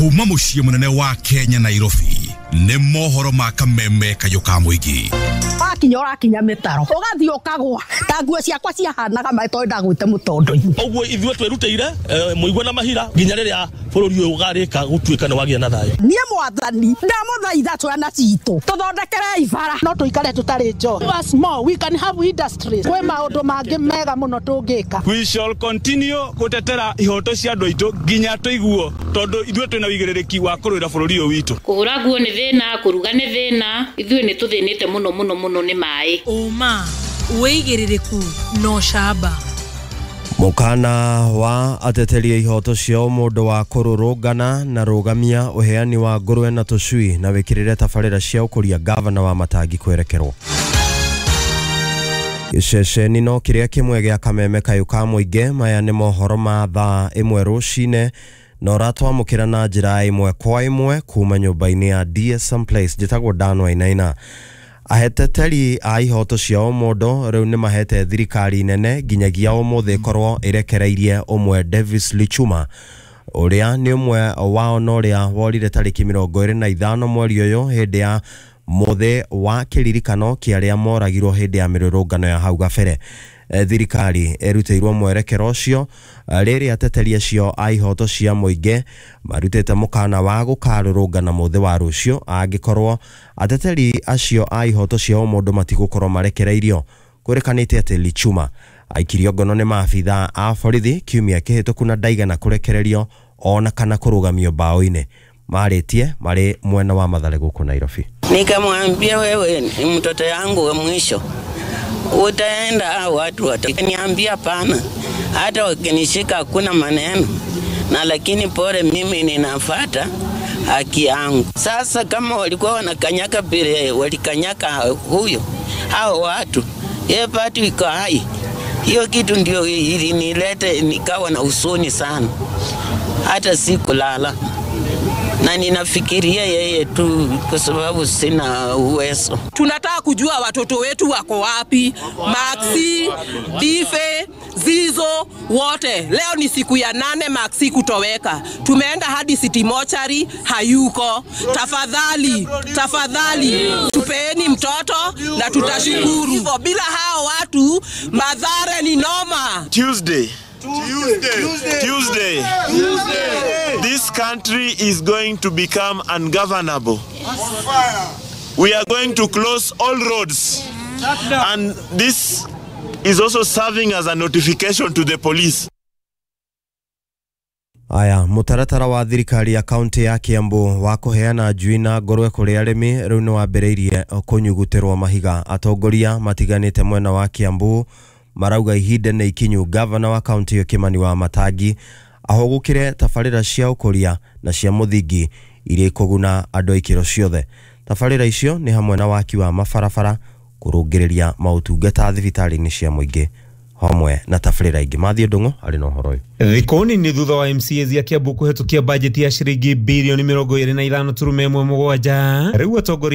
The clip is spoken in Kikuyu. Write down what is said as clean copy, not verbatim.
Kuma muciĩ mũnene wa Kenya, Nairobi, nĩ mohoro ma kameme kayũ ka mũingĩ. Wakinya ũrakinya mĩtaro, ũgathiĩ ũkagwa ta nguo ciakwa ciahanaga maĩ tondũ ndagwĩte mũtondo-inĩ. Ũguo ithuĩ twĩrutĩire mũigua na mahira nginya rĩrĩa bũrũri ũyũ ũgarĩka gũtuĩka nĩ wagĩa na thayũ. Niĩ mwathani ndamũthaitha ciana citũ tũthondekerei bara. No tũikare tũtarĩ njohi. Us more, we can have industries. Kwĩ maũndũ mangĩ mega mũno tũngĩka. We shall continue gũtetera ihoto cia andũ aitũ nginya tũiguo, tondũ ithuĩ twĩna wĩigĩrĩrĩki wa kũrũĩra bũrũri ũyũ witũ. Kũhũra nguo nĩ thĩna, kũruga nĩ thĩna, ithuĩ nĩ tũthĩnĩte mũno mũno mũno nĩ maĩ. Ũma, wĩigĩrĩrĩku na ũcamba. Mũkana wa ateteri a ihoto cia ũmũndũ wa kũrũrũngana na rũgamia ũheani wa ngũrwe na tũcui na wĩkĩrĩre tabarĩra cia ũkũria gavana wa Matangi kwerekerwo. Gĩceceni no kĩrĩa kĩmwe gĩa kameme kayũ ka mũingĩ. Maya nĩ mohoro ma thaa 1 rũcinĩ na ũratwamũkĩra na njĩra ĩmwe kwa ĩmwe kuma nyũmba-inĩ ya DSM Place. Njĩtagwo Dan Wainaina. Aheteteri a ihoto cia ũmũndũ rĩu nĩ mahete thirikari nene nginyagia ũmũthĩ ĩkorwo ĩrekereirie ũmwe Davis Lichuma ũrĩa nĩ ũmwe wao na ũrĩa worire tarĩki 25 mweri ũyũ hĩndĩ ya mũthĩ wa kĩririkano kĩa arĩa moragirwo hĩndĩ ya mĩrũrũngano ya hau gabere. Thirikari ĩrutĩirwo mwerekero ũcio rĩrĩa ateteri acio a ihoto cia mũingĩ marutĩte mũkana wa gũkarũrũngana mũthĩ wa rũciũ angĩkorwo ateteri acio a ihoto cia ũmũndũ matigũkorwo marekereirio. Kwĩrĩkanĩte atĩ Lichuma aikirio ngono nĩ maabitha a borithi kiumia kĩhĩtũku na ndaigana kũrekererio ona kana kũrũgamio mbaũ-inĩ. Marĩtie marĩ mwena wa Mathare gũkũ Nairobi. Nikamwambia, wewe ni mtoto yangu wa mwisho, utaenda watu wataniambia pana, hata wakinishika hakuna maneno, na lakini pole, mimi ninafuata haki yangu. Sasa kama walikuwa wanakanyaka vile walikanyaka huyo hao watu, yeye pati iko hai. Hiyo kitu ndio ilinilete nikawa na huzuni sana, hata sikulala na ninafikiria yeye tu kwa sababu sina uwezo. Tunataka kujua watoto wetu wako wapi, Maxi, Dife, Zizo, wote. Leo ni siku ya 8 Maxi kutoweka. Tumeenda hadi City Mortuary, hayuko. Tafadhali, tafadhali, tupeeni mtoto na tutashukuru. Hivyo bila hao watu, Mathare ni noma. Tuesday. Tuesday. This country is going to become ungovernable. We are going to close all roads. And this is also serving as a notification to the police. Aya, mũtaratara wa thirikari ya kaunti ya Kiambu wa kũheana njui na ngũrwe kũrĩ arĩmi rĩu nĩ wambĩrĩirie kũnyugutĩrwo mahiga. Atongoria matiganĩte mwena wa Kiambu marauga ihinda nĩ ikinyu gavana wa kaunti ĩyo Kimani wa Matangi ahũgũkĩre tabarĩra cia ũkũria na cia mũthingi iria ikũguna andũ a ikĩro ciothe. Tabarĩra icio nĩ hamwe na waki wa mabarabara, kũrũngĩrĩria maũtungata thibitarĩ-inĩ cia mũingĩ hamwe na tabarĩra ingĩ. Mathiĩ Ndung'u arĩ na ũhoro ũyũ. Thikũ nini thutha wa MCAs ya Kiambu kũhetũkia bajeti ya ciringi birioni 25.17 rĩu atongoria